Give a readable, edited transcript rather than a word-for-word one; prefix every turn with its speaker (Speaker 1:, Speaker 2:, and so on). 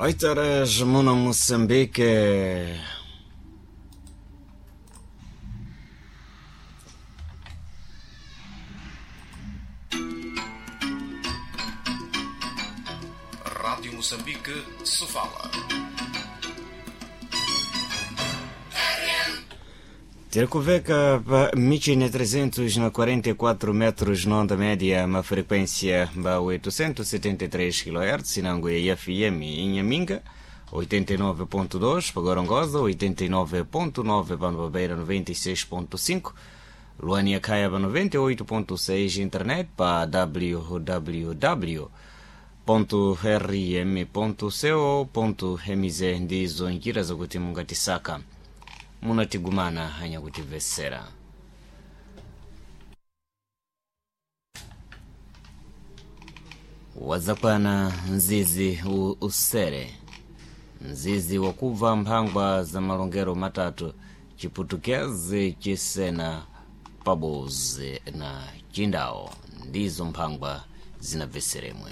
Speaker 1: 8 horas muno Moçambique.
Speaker 2: Rádio Moçambique, Sofala.
Speaker 1: Tirikuveka pa michine 344 metros na onda média, uma frequência ba 873 kHz, nango ya FM em Inhaminga, 89.2 para Gorongosa, 89.9 para Beira, 96.5, Luania Caiaba 98.6, internet para www.rm.co.mz ndizo njira zakuti mungatisaka munatigumana hanyakutimvesera. Wazakwana mzizi usere mzizi wakubva mphangwa za malongero matatu chiputukezi chisena pabozi na chindawo ndizo mphangwa zinabveseremwe.